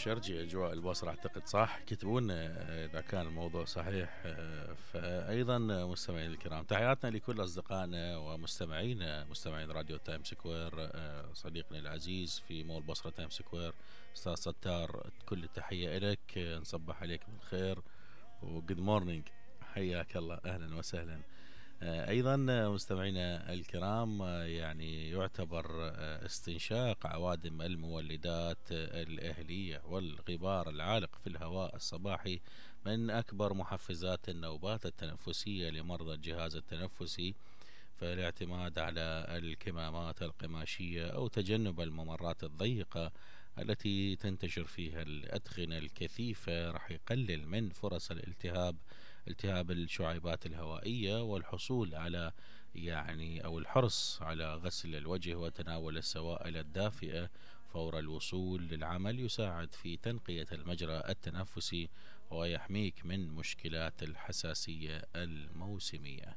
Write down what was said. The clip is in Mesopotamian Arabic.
شرجي أجواء البصرة أعتقد صح. كتبونا إذا كان الموضوع صحيح. فأيضا مستمعين الكرام، تحياتنا لكل أصدقائنا ومستمعينا مستمعين راديو تايم سكوير. صديقنا العزيز في مول بصرة تايم سكوير أستاذ ستار، كل التحية إلك. نصبح عليك بالخير وجود مورنينج. حياك الله، أهلا وسهلا. أيضا مستمعينا الكرام، يعني يعتبر استنشاق عوادم المولدات الأهلية والغبار العالق في الهواء الصباحي من أكبر محفزات النوبات التنفسية لمرضى الجهاز التنفسي. فالاعتماد على الكمامات القماشية أو تجنب الممرات الضيقة التي تنتشر فيها الأدخنة الكثيفة راح يقلل من فرص التهاب الشعيبات الهوائية، والحصول على أو الحرص على غسل الوجه وتناول السوائل الدافئة فور الوصول للعمل يساعد في تنقية المجرى التنفسي ويحميك من مشكلات الحساسية الموسمية.